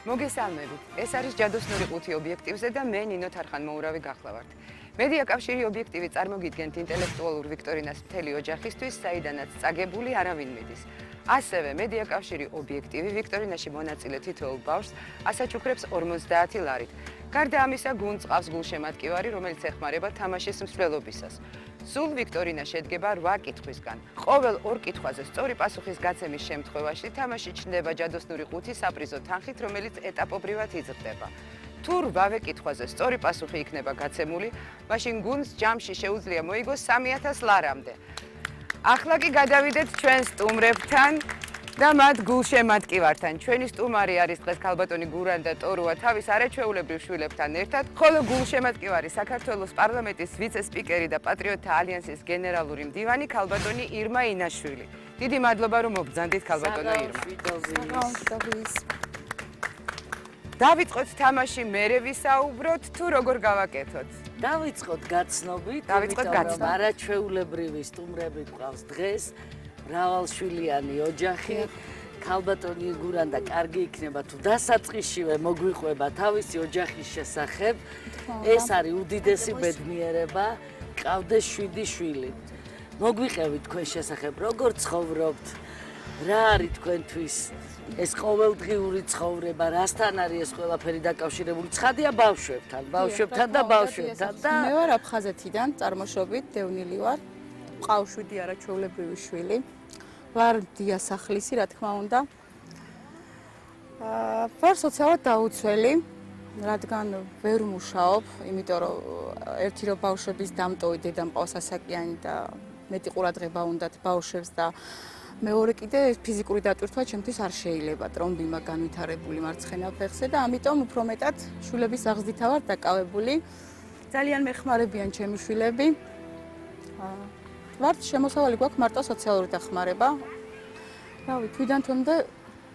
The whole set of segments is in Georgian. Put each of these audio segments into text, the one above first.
მოგესალმებით. ეს არის ჯადოსნური ყუთი ობიექტივზე და მე ნინო თარხანმოურავი გახლავართ. მედია კავშირი ობიექტივი წარმოგიდგენთ ინტელექტუალურ ვიქტორინას მთელი ოჯახისთვის, საიდანაც წაგებული არავინ მიდის. ასევე მედია კავშირი ობიექტივი ვიქტორინაში მონაწილე თითოეულ ბავშვს ასაჩუქრებს 50 ლარით. გარდა ამისა, გუნდს ყავს გულშემატკივარი, რომელიც ეხმარება თამაშის მსვლელობისას. სულ ვიქტორინა შედგება 8 კითხვისგან. ყოველ 2 კითხვაზე სწორი პასუხის გაცემის შემთხვევაში თამაში ჩნდება ჯადოსნური ყუთი საპრიზო თანხით, რომელიც ეტაპობრივად იზრდება. თუ 8 კითხვაზე სწორი პასუხი იქნება გაცემული, მაშინ გუნდს ჯამში შეუძლია მოიგოს 3000 ლარამდე. ახლა კი გადავიდეთ ჩვენ სტუმრებთან და მათ გულშემატკივართან. ჩვენი სტუმარი არის დღეს ქალბატონი გურანდა ტორუა თავის არაჩვეულებრივ შვილებთან ერთად, ხოლო გულშემატკივარი საქართველოს პარლამენტის ვიცე-სპიკერი და პატრიოტთა ალიანსის გენერალური მდივანი ქალბატონი ირმა ინაშვილი. დიდი მადლობა რომ მობრძანდით ქალბატონო ირმა. დავიწყოთ თამაში, მერე ვისაუბროთ თუ როგორ გავაკეთოთ? დავიწყოთ გაცნობით, არაჩვეულებრივი სტუმრები გვყავს დღეს, მრავალშვილიანი ოჯახი, ქალბატონი გურანდა კარგი იქნება თუ დასაწყისშივე მოგვიყვება თავისი ოჯახის შესახებ. ეს არის უდიდესი ბედნიერება, გყავდეს 7 შვილი. მოგვიყევით თქვენ შესახებ, როგორ ცხოვრობთ, რა არის თქვენთვის ეს ყოველდღიური ცხოვრება, რასთან არის ეს ყველაფერი დაკავშირებული? ცხადია ბავშვებთან და ბავშვებთან და მე ვარ აფხაზეთიდან, წარმოშობით დევნილი ვარ. მყავს 7 არაჩვეულებრივი შვილი. ვარ დიასახლისი, რა თქმა უნდა. ვარ სოციალურად დაუცველი, რადგან ვერ მუშაობ, იმიტომ რომ ერთი რომ ბავშვების დამტოვი დედა მყავს ასაკიანი და მეტი ყურადღება უნდათ ბავშვებს და მეორე კიდე ფიზიკური დატვირთვა ჩემთვის არ შეიძლება, ტრომბი მაქვს განვითარებული მარცხენა ფეხზე და ამიტომ უფრო მეტად შვილების აღზრდითა ვარ დაკავებული. ძალიან მეხმარებიან ჩემი შვილები. ვართ შემოსავალი გვაქვს მარტო სოციალური დახმარება. რავი, თვიდან თვემდე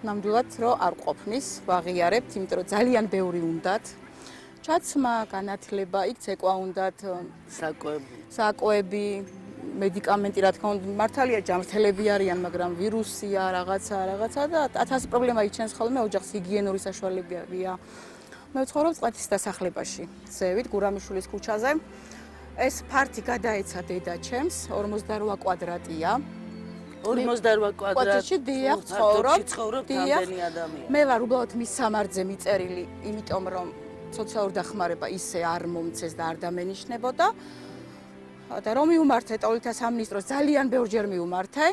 ნამდვილად რომ არ ყოფნის, ვაღიარებთ, იმიტომ რომ ძალიან ბევრი უნდათ. ჩაცმა, განათლება, იქ ცეკვა უნდათ, საკვები, მედიკამენტი, რა თქმა უნდა, მართალია ჯანმრთელები არიან, მაგრამ ვირუსია, რაღაცა და 1000 პრობლემა იჩენს ხოლმე ოჯახს, ჰიგიენური საშუალებებია. მე ვცხოვრობ წყეთის დასახლებაში, ზევით, გურამიშვილის ქუჩაზე. ეს ფართი გადაეცა დედა ჩემს, 48 კვადრატია. 48 კვადრატში დიახ, ცხოვრობ რამდენი ადამიანი? მე ვარ უბრალოდ მის სამარძე მიწერილი, იმიტომ რომ სოციალური დახმარება ისე არ მომცეს და არ დამენიშნებოდა. და რომ მიუმართე ტოლთა სამინისტროს ძალიან ბევრჯერ მიუმართე,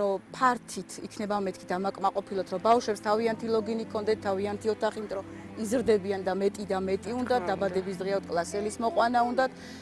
რომ ფართით იქნება მეთქი დამაკმაყოფილოთ, რომ ბავშვებს თავიანთი ლოგინი ჰქონდეთ, თავიანთი ოთახი, იმიტომ რომ იზრდებიან და მეტი უნდათ, დაბადების დღეა კლასელის მოყვანა უნდათ.